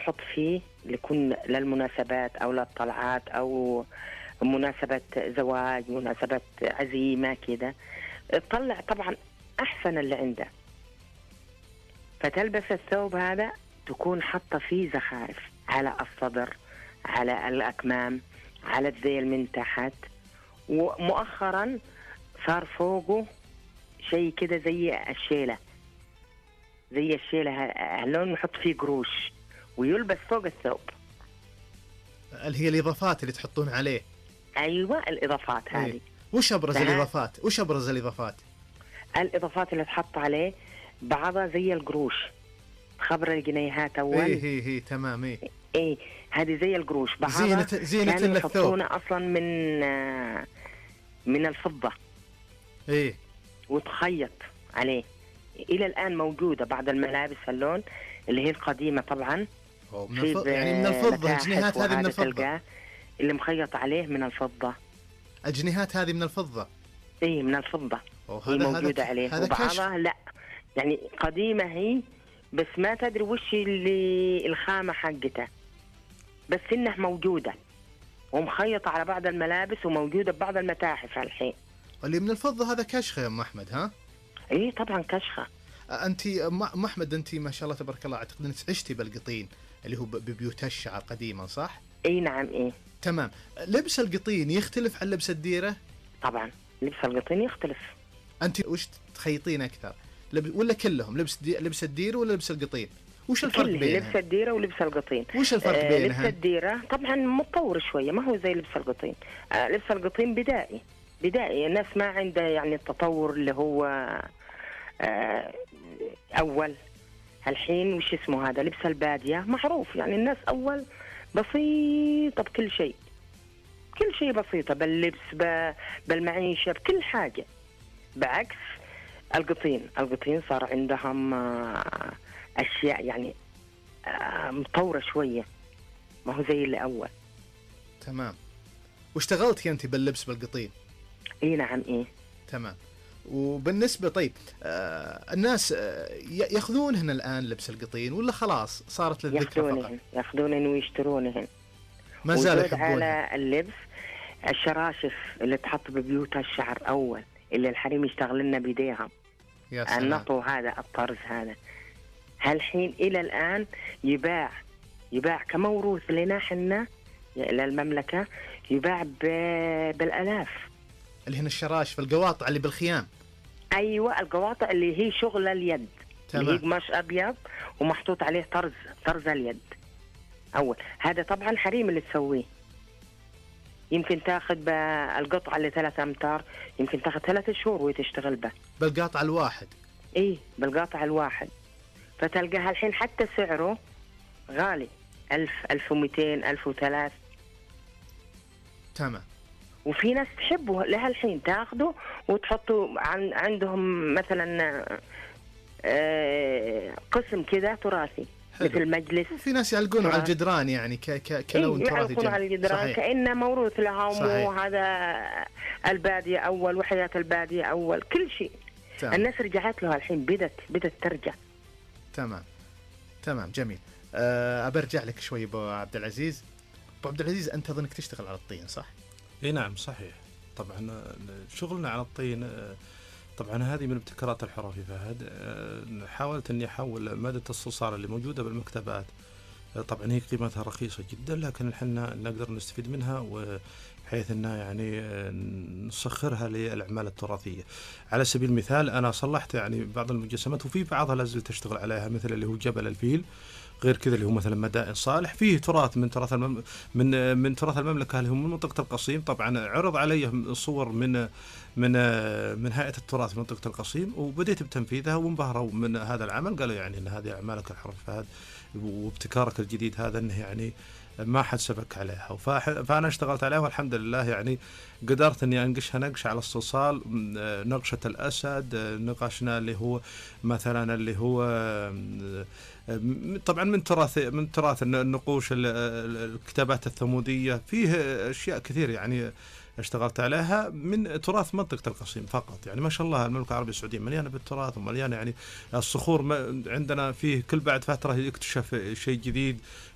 نحط فيه لكل للمناسبات أو للطلعات أو مناسبة زواج، مناسبة عزيمة كده، تطلع طبعا أحسن اللي عنده. فتلبس الثوب هذا تكون حاطة فيه زخارف على الصدر، على الأكمام، على الذيل من تحت. ومؤخرا صار فوقه شيء كده زي الشيلة، زي الشيلة هاللون، نحط فيه قروش ويلبس فوق الثوب. اللي هي الإضافات اللي تحطون عليه. أيوة الإضافات هذه. وش أبرز الإضافات؟ وش أبرز الإضافات؟ الإضافات اللي تحط عليه بعضها زي القروش، خبر الجنيهات أول. إيه تمام. إيه هذه زي القروش، بعضها زينة كانوا يحطونه أصلا من الفضة. إيه وتخيط عليه. إلى الآن موجودة بعض الملابس اللون اللي هي القديمة طبعا. يعني من الفضة، الجنيهات هذه من الفضة اللي مخيط عليه من الفضة. الجنيهات هذه من الفضة. إيه من الفضة. هي موجودة عليه. وبعضها لا، يعني قديمة هي، بس ما تدري وش اللي الخامة حقتها، بس إنها موجودة ومخيطة على بعض الملابس وموجودة ببعض المتاحف الحين. اللي من الفضة هذا كشخة يا أم أحمد ها؟ إيه طبعا كشخة. أنت أم أحمد أنت ما شاء الله تبارك الله أعتقد أنك عشتي بالقطين اللي هو ببيوت الشعر قديما صح؟ إيه نعم. إيه تمام. لبس القطين يختلف عن لبس الديرة؟ طبعا لبس القطين يختلف. أنت وش تخيطين أكثر؟ ولا كلهم لبس الديرة ولا لبس القطين؟ وش الفرق بينها؟ لبس الديرة ولبس القطين. وش الفرق بينها؟ لبس الديرة طبعا متطور شوية، ما هو زي لبس القطين. لبس القطين بدائي، الناس ما عنده يعني التطور اللي هو أول. الحين وش اسمه هذا لبس البادية معروف، يعني الناس أول بسيطة بكل شيء، كل شيء بسيطة، باللبس بالمعيشة بكل حاجة. بعكس القطين صار عندهم أشياء يعني مطورة شوية، ما هو زي اللي أول. تمام. واشتغلتي أنت باللبس بالقطين؟ إيه نعم. إيه تمام. وبالنسبة طيب الناس يأخذونهن الآن لبس القطين ولا خلاص صارت للذكرى فقط؟ يأخذونهن ويشترونهن. ما زالوا يحبونهن. على اللبس الشراشف اللي تحط ببيوت الشعر أول، اللي الحريم يشتغل لنا بيديهم. النطو هذا الطرز هذا هالحين إلى الآن يباع كموروث لنا حنا للمملكة، يباع بالآلاف. اللي هنا الشراشف القواطع اللي بالخيام. أيوة القواطع اللي هي شغل اليد. تمام. اللي هي قماش أبيض ومحطوط عليه طرز اليد أول. هذا طبعا حريم اللي تسويه. يمكن تاخذ بالقطعة اللي 3 أمتار، يمكن تاخذ 3 شهور وتشتغل به. بالقاطع الواحد. إيه بالقاطع الواحد. فتلقاها الحين حتى سعره غالي، 1000 1200 1003. تمام. وفي ناس تحبه لها الحين تاخده وتحطه عندهم مثلا قسم كده تراثي. حلو. مثل مجلس. في ناس يعلقونه على الجدران يعني كلون تراثي. يعلقونه على الجدران كأنه موروث لهم. وهذا البادية أول وحياة البادية أول كل شيء. تمام. الناس رجعت له الحين، بدت ترجع. تمام جميل. أبرجع لك شوي أبو عبد العزيز. أبو عبد العزيز أنت أظنك تشتغل على الطين صح؟ اي نعم صحيح. طبعا شغلنا على الطين طبعا هذه من ابتكارات الحرفي فهد. حاولت اني احول مادة الصلصال اللي موجودة بالمكتبات، طبعا هي قيمتها رخيصة جدا لكن احنا نقدر نستفيد منها بحيث انها يعني نسخرها للاعمال التراثية. على سبيل المثال انا صلحت يعني بعض المجسمات وفي بعضها لازلت اشتغل عليها، مثل اللي هو جبل الفيل، غير كذا اللي هو مثلا مدائن صالح، فيه تراث من تراث من تراث المملكة اللي هو من منطقة القصيم. طبعا عرض علي صور من هيئة التراث في منطقة القصيم وبديت بتنفيذها وانبهروا من هذا العمل، قالوا يعني ان هذه اعمالك الحرف فهد وابتكارك الجديد هذا انه يعني ما حد سبك عليها. فانا اشتغلت عليها والحمد لله يعني قدرت اني انقشها نقش على الصلصال، نقشة الاسد، نقشنا اللي هو مثلا اللي هو طبعا من تراث النقوش الكتابات الثمودية، فيه اشياء كثير يعني اشتغلت عليها من تراث منطقة القصيم فقط. يعني ما شاء الله المملكة العربية السعودية مليانة بالتراث ومليانة يعني الصخور عندنا فيه كل بعد فترة يكتشف شيء جديد،